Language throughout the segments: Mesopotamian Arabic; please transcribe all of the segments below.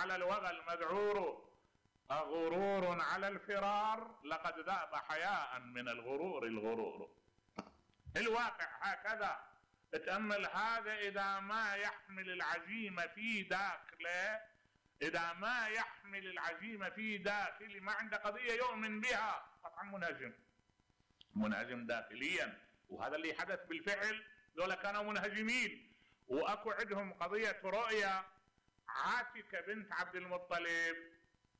على الوغى المذعور أغرور على الفرار لقد ذاب حياء من الغرور الغرور. الواقع هكذا. تأمل هذا إذا ما يحمل العزيمة في داخله، إذا ما يحمل العزيمة في داخله، ما عنده قضية يؤمن بها، قطعا منهزم داخليا. وهذا اللي حدث بالفعل. ذولا كانوا منهزمين، واكو عندهم قضية رؤية. عاتكة بنت عبد المطلب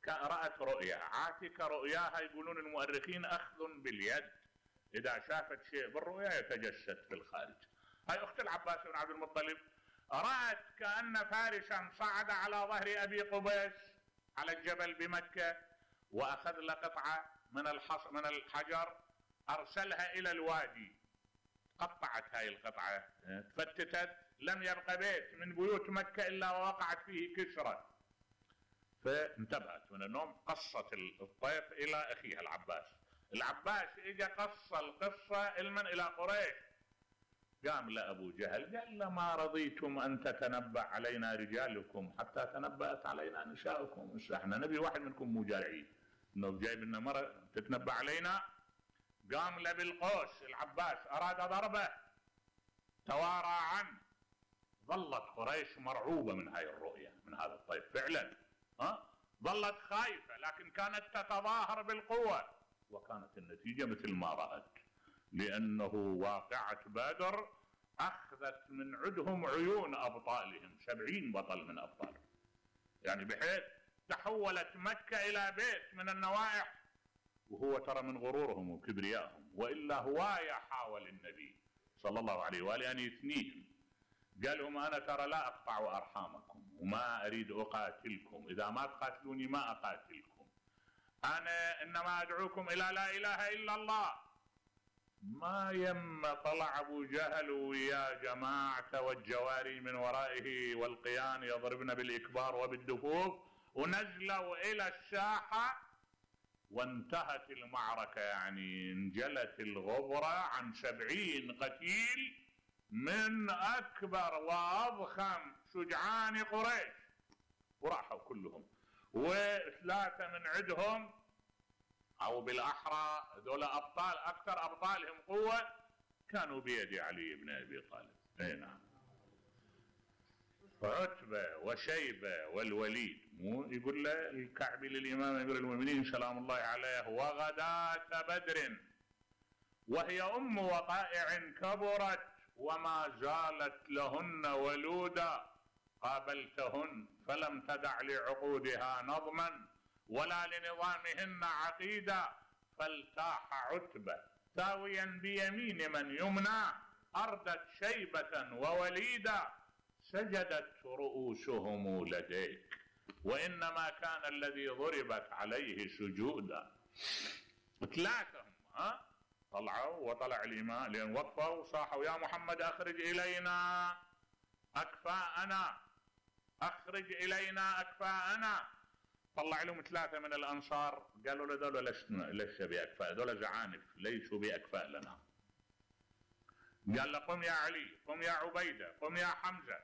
رأت رؤيا. عاتكة رؤياها يقولون المؤرخين أخذ باليد، إذا شافت شيء بالرؤيا يتجسد في الخارج. هاي أخت العباس بن عبد المطلب رأت كأن فارسا صعد على ظهر أبي قبيس على الجبل بمكة، وأخذ له قطعة من الحجر أرسلها إلى الوادي. قطعت هاي القطعة، تفتتت، لم يبقى بيت من بيوت مكة إلا ووقعت فيه كسرة. فانتبهت من النوم، قصت الطيف إلى أخيها العباس. العباس إجا قص القصة إلى قريش. قام لأبو جهل قال له: ما رضيتم أن تتنبأ علينا رجالكم حتى تنبأت علينا نساؤكم. احنا نبي واحد منكم مو جارعين، انه جايب لنا مرة تتنبأ علينا. قام له بالقوس العباس، أراد ضربه، توارى عنه. ظلت قريش مرعوبة من هاي الرؤية، من هذا الطيف فعلا. ظلت خايفة، لكن كانت تتظاهر بالقوة، وكانت النتيجة مثل ما رأت. لأنه واقعة بدر أخذت من عندهم عيون أبطالهم، 70 بطل من أبطالهم، يعني بحيث تحولت مكة إلى بيت من النوائح. وهو ترى من غرورهم وكبريائهم، وإلا هواية حاول النبي صلى الله عليه وآله أن يثنيهم. قال لهم: أنا ترى لا أقطع أرحامكم وما أريد أقاتلكم، إذا ما تقاتلوني ما أقاتلكم، أنا إنما أدعوكم إلى لا إله إلا الله. ما يم طلع أبو جهل ويا جماعة والجواري من ورائه والقيان يضربن بالإكبار وبالدفوف، ونزلوا إلى الساحة وانتهت المعركة. يعني انجلت الغبرة عن 70 قتيل من أكبر وأضخم شجعان قريش، وراحوا كلهم. وثلاثة من عندهم، أو بالأحرى ذولا أبطال، أكثر أبطالهم قوة، كانوا بيد علي بن أبي طالب. أي نعم. عتبة وشيبة والوليد. مو يقول له الكعبي للإمام أمير المؤمنين سلام الله عليه: وغداة بدر وهي أم وقائع كبرت وما زالت لهن ولودا، قابلتهن فلم تدع لعقودها نظما ولا لنظامهن عقيدا، فالتاح عتبة تاويا بيمين من يمنى، أردت شيبة ووليدا، سجدت رؤوسهم لديك، وإنما كان الذي ضربت عليه سجودا. ثلاثهم طلعوا، وطلع الإمام لأن وقفوا وصاحوا: يا محمد أخرج إلينا أكفاءنا، أخرج إلينا أكفاءنا. طلع لهم ثلاثة من الأنصار، قالوا له: دول ليس بأكفاء، دول زعانف ليسوا بأكفاء لنا. قال له: قم يا علي، قم يا عبيدة، قم يا حمزة.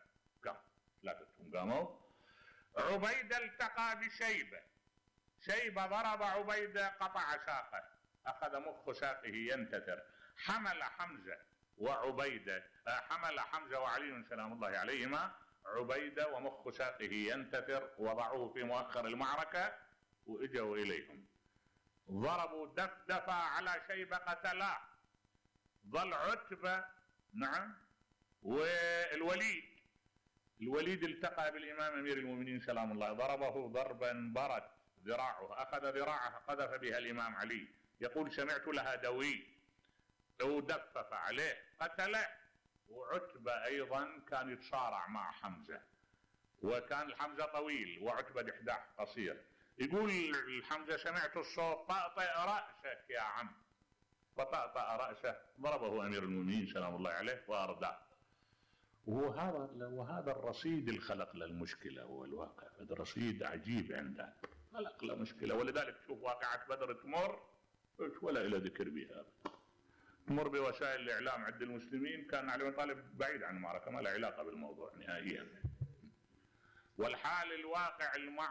قام ثلاثتهم قاموا. عبيدة التقى بشيبة، شيبة ضرب عبيدة قطع ساقه، أخذ مخ ساقه ينتثر. حمل حمزة وعبيدة، حمل حمزة وعلي سلام الله عليهما عبيدة ومخ ساقه ينتثر، وضعوه في مؤخر المعركة وإجوا إليهم، ضربوا دفدفة على شيبة قتلاه. ظل عتبة نعم والوليد. الوليد التقى بالإمام أمير المؤمنين سلام الله، ضربه ضربا برت ذراعه، أخذ ذراعه قذف بها الإمام علي، يقول: سمعت لها دوي، ودفف عليه قتله. وعتبة أيضا كان يتصارع مع حمزة، وكان الحمزة طويل وعتبة دحداح قصير. يقول الحمزة: سمعت الصوت، طأطئ رأسك يا عم، فطأطأ رأسه، ضربه أمير المؤمنين سلام الله عليه وأرداه. وهذا الرصيد الخلق للمشكلة هو الواقع، هذا رصيد عجيب عنده، خلق له مشكلة. ولذلك شوف واقعة بدر تمر ولا إلى ذكر بها، تمر بوسائل الإعلام عند المسلمين، كان علي بن طالب بعيد عن المعركة، ما له علاقة بالموضوع نهائيا. والحال الواقع